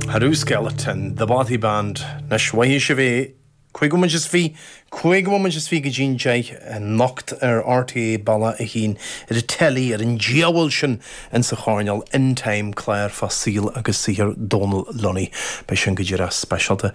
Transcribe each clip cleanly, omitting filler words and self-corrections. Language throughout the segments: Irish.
Haru Skeleton, The Bothy Band, Anois, mhothaigh sibh é, 5 bhomaite is 20, 5 bhomaite is 20 go dtí'n 10 anocht ar RTÉ Bealach a hAon, ar an teilí, ar an diabhal sin insa choirneál, In Time, clár fá saol agus saothar Dónal Lunny. Beidh sin go díreach speisialta.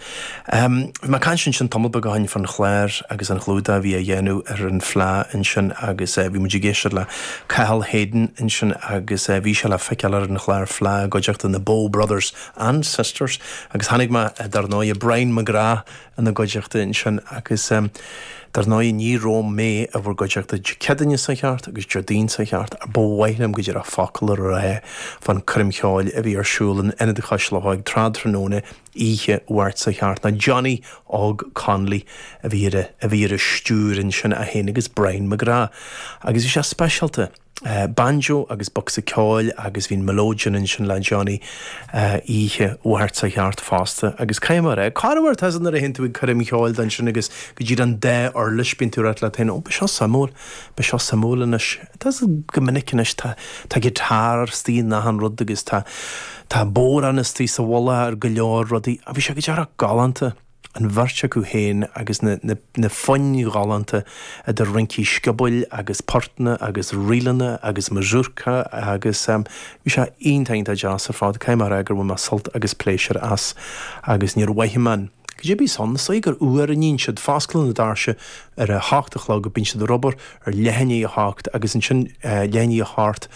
Bhí mé ag caint ansin tamall beag ó shin fán chlár agus an chlúdach a bhí á dhéanamh ar an Fleadh ansin agus bhí muid ag éisteacht le Cathal Hayden ansin agus bhí sé le feiceáil ar an chlár Fleadh i gcuideachta na Bow Brothers and Sisters agus chonaic mé dar ndóigh Brian McGrath ina gcuideachta ansin agus dar ndóigh ní raibh mé i bhur gcuideachta Dé Céadaoine seo cheart agus Déardaoin seo cheart ach ba mhaith liom go díreach focal a rá fán coirm cheoil a bhí ar siúl in Ionad Chois Locha ag tráthnóna oíche Mháirt seo cheart ná Johnny Óg Connolly a bhí ar a bhí ar a stiúir ansin é féin agus Brian McGrath agus bhí sé speisialta. Banjo agus bocsa ceoil agus bhí an melodeon ansin le Johnny oíche Mháirt seo cheart fosta agus caithfidh mé a rá, corruair tá nuair a théann tú ag coirm cheoil ansin agus go díreach an dá uirlis bíonn tú ag ráit leat féin, ó beidh seo suimiúil, beidh seo suimiúil anois. Tá go minic anois tá tá guitar istigh in achan rud agus tá tá bodhrán istigh sa mhullach ar go leor rudaí. Bhí sé go díreach galánta. an bheirt acu féin agus na, na, na foinn ghalánta idir rincí sciobóil agus portanna agus ríleanna agus mazurka agus bhí sé iontach iontach deas ar fad. Caithfidh mé a rá gur bhain mé sult agus pléisiúr as agus níor mhothaigh mé an. Cad é bíos ann, is dóigh gur uair a níonn siad, fosclann na doirse ar a hocht a chlog, bíonn siad ar obair ar leath i ndiaidh a hocht agus ansin leath i ndiaidh a hocht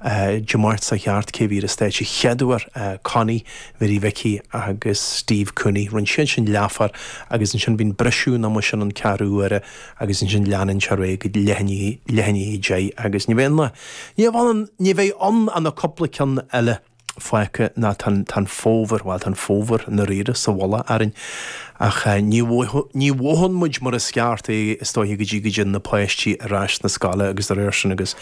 Dé Máirt seo cheart cé a bhí ar an stáitse chéad uair, Connie Mhary Mhicí agus Steve Cooney. Rinne siad sin leathuair agus ansin bíonn briseadh an ama sin an ceathrú uaire agus ansin leanann sé ar aghaidh go leath i ndiaidh a deich agus ní bheidh ann ní bheidh ann ní bheidh ann ach na cúpla ceann eile. fágtha ná tá an fómhar, bhuel tá an fómhar i ndáiríre sa mhullach orainn ach ní ní mhothaíonn muid mar is ceart é is dóiche go dtí go dtéann na páistí ar ais na scoile agus dá réir sin agus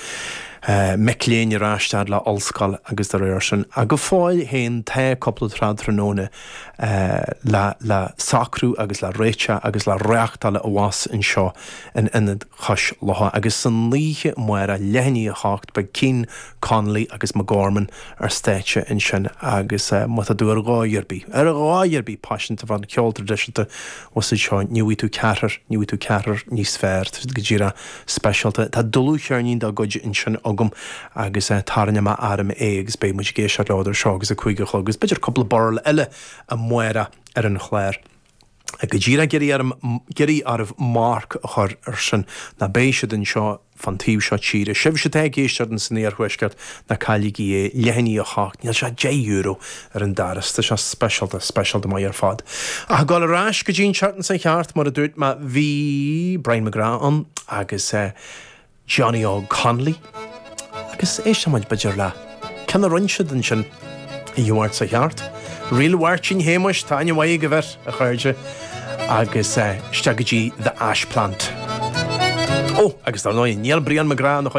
mic léinn ar ais fhad le ollscoil agus dá réir sin. Ach go fóill féin tá cúpla tráthnóna le le socrú agus le réiteach agus le reáchtáil abhus anseo in Ionad Chois Locha agus san oíche amárach leath i ndiaidh a hocht beidh Cian Connolly agus McGorman ar stáitse ansin agus má tá tú ar dhóigh ar bith, ar dhóigh ar bith paiseanta fán cheol traidisiúnta abhus anseo, ní bhfaighidh tú ceathrar, ní bhfaighidh tú ceathrar níos fearr, tá siad go díreach speisialta. Tá dlúthcheirnín dá gcuid ansin agam agus tarraingeoidh mé orm é agus beidh muid ag éisteacht leo idir seo agus a 5 a chlog agus b'fhéidir cúpla burl eile amárach ar an chlár. Go díreach ag iarraidh orm, ag iarraidh oraibh marc a chur air sin, ná beidh siad anseo fán taobh seo tíre. Sibhse atá ag éisteacht in san iarthuaisceart, ná cailligí é, leath i ndiaidh a hocht, níl sé €10 ar an doras, tá sé speisialta, speisialta maith ar fad. Ach ag dul ar ais go dtí an tseachtain seo cheart, mar a dúirt mé, bhí Brian McGrath ann agus eh, Johnny Óg Connolly agus éistfidh muid b'fhéidir le ceann a rinne siad ansin oíche Mháirt seo cheart. Ríl Mháirtín Shéamuis, tá aithne mhaith ag an bheirt, a chairde, agus isteach go dtí The Ash Plant. Ó, agus dar ndóigh, níl Brian McGrath ina chuid.